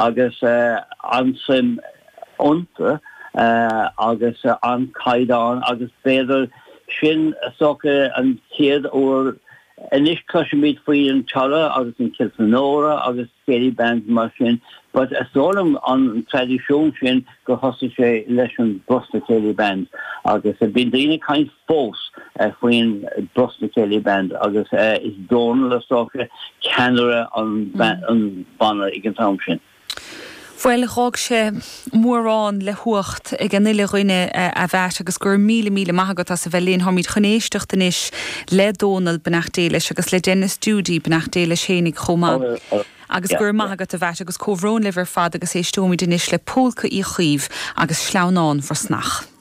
Agus an-suim iontu agus an-chaighdeán agus b'fhéidir sin is dócha an chéad uair anois cloisimid faoi an Tulla agus an Kilfenora agus céilí bands mar sin but is dóigh liom an traidisiún sin gur thosaigh sé leis an Brosna Céilí Band agus bíonn daoine ag caint fós faoin Brosna Céilí Band agus is Dónal is dócha ceannaire an bhanna ag an t-am sin. Bhuel, dh'fhág sé mórán le huacht ag an uile dhuine, a Mheait, agus go raibh míle, míle maith agat as a bheith linn. Táimid chun éisteacht anois le Dónal, beannacht Dé leis, agus le Denis Judy, beannacht Dé leis fhéinig chomh maith. Agus go raibh maith agat, a Mheait, agus comhbhrón libh ar fad agus éisteoimid anois le Pólca Uí Chaoimh agus Sleamhnán Bhrosnach.